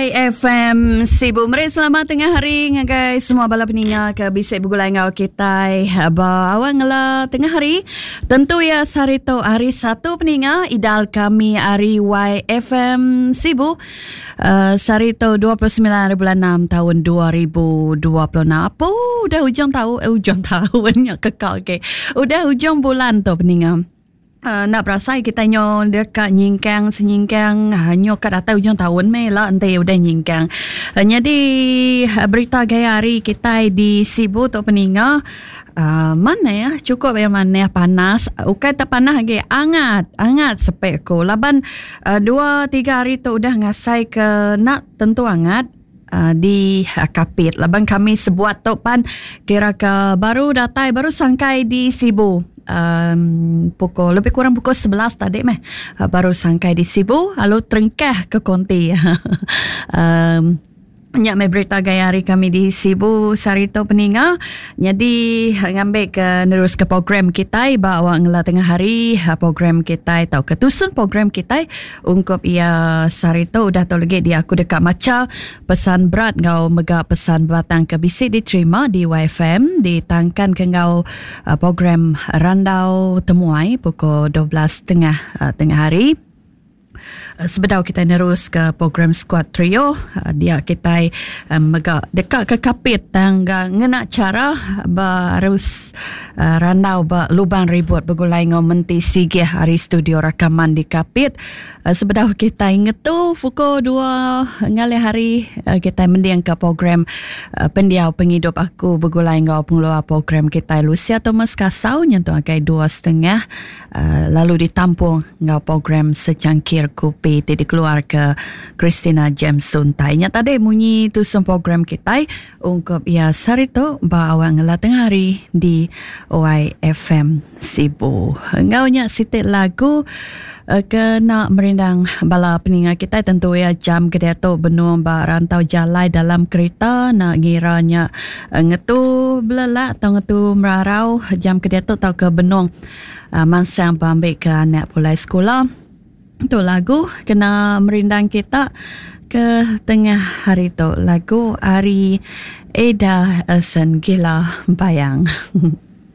YFM Sibu meri selamat tengah hari ngagai semua bala peninga ke bisi begulai enggau kitai ba awang ngela tengah hari. Tentu iya sehari tu hari Satu peninga idal kami ari YFM Sibu. Uh, sehari tu 29 hari bulan 6 tahun 2026. Apa udah ujung tahun eh, ujung tahun nya kekal ke. Udah ujung bulan tu peninga. Uh, enda berasai kita nyo deka nyingkang senyingkang uh, nyo ka datai ujung taun meh ila enti udah nyingkang. Uh, nyadi uh, berita gaya hari kitai di Sibu tu peninga uh, manah cukup ya manah panas ukai tak panas agi angat angat sepek ku laban uh, dua tiga hari tu udah ngasai ke nak tentu angat uh, di Kapit laban kami sebuat tu pan kira ke baru datai baru sangkai di Sibu um, pukul lebih kurang pukul 11 tadi meh uh, baru sangkai di Sibu lalu terengkah ke konti um, Nya meh berita gaya hari kami di Sibu sehari tu peninga. Nyadi ngambil ke nerus ke program kitai ba awak ngela tengah hari program kitai tau ke tusun program kitai ungkup iya sehari tu udah tu lagi dia aku deka macha Pesan berat enggau mega pesan bebatang ke bisi diterima di YFM ditangkanka enggau program Randau Temuai pukul 12 tengah tengah hari. Sebedau kitai neruska program Skuad Trio, dia kitai mega deka ke kapit tang ngena chara berus randau ba lubang ribut begulai enggau Menti Sigih ari studio rakaman di Kapit. Eh, sebedau kitai ngetu pukul 2 ngalih hari eh, kitai mendingka program eh, Pendiau Pengidup Aku begulai enggau pengeluar program kitai Lucia Thomas Kasau nyentuk agai 2.30 lalu ditampung enggau program Secangkir Kopi ti dikeluarka Christina James Suntai. Nya tadi munyi tusun program kitai ungkup iya sehari tu ba awak ngela tengah hari di YFM Sibu. Enggau nya siti lagu eh, ke nak merindang bala peninga kitai tentu iya jam ke diatu benung ba rantau jalai dalam kerita nak ngira nya eh, ngetu belelak atau ngetu merarau jam ke diatu tauka benung eh, mansang ba ambi ke anak pulai sekula. Tu lagu kena merindang kita ke tengah hari tu lagu ari Eda Elson Gila Bayang.